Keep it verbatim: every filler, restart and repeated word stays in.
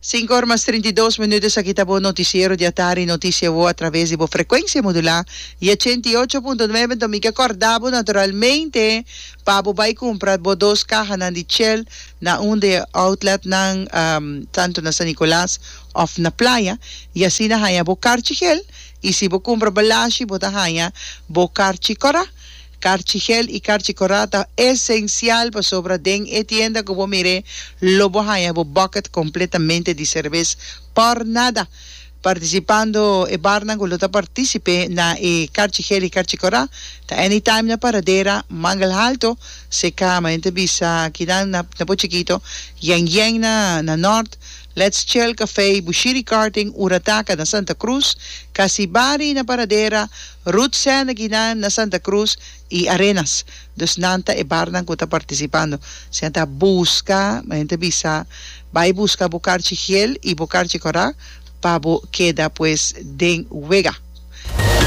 Cinco or mas trinta i dos minuut, esaki ta bo noticiero di atardi, Noticia Wo, a traves di bo frecuencia modula y ochenta i ocho punto nuebe. Enton mi ke corda bo naturalmente pa bo bay cumpra bo dos cahanan di chel na un di e outletnan, um, tanto na San Nicolas of na Playa, y asina haya bo carchi gel, y si bo cumpra balashi bo ta haya bo carchi cora. Karchi gel i karchi korá ta esensial pasobra den e tienda ku bo mir'é lo bo haña bo bucket kompletamente di serbes por nada. Partisipando e barnan ku lo ta partísipe na e karchi gel i karchi korá ta Anytime na Paradera, Mangel Halto, Seka, manera ta bisa kinan na na bo chikito, Yen Yen na na Nort, Let's Chill Café, Bushiri Karting, Urataka na Santa Cruz, Casibari na Paradera, Ruth Sandekina na Santa Cruz y Arenas. Dus nan ta e barnan cu ta participando. Si nan ta busca, men ta bisa, bay busca bo karchi gel y bo karchi cora pa bo keda pues den wega.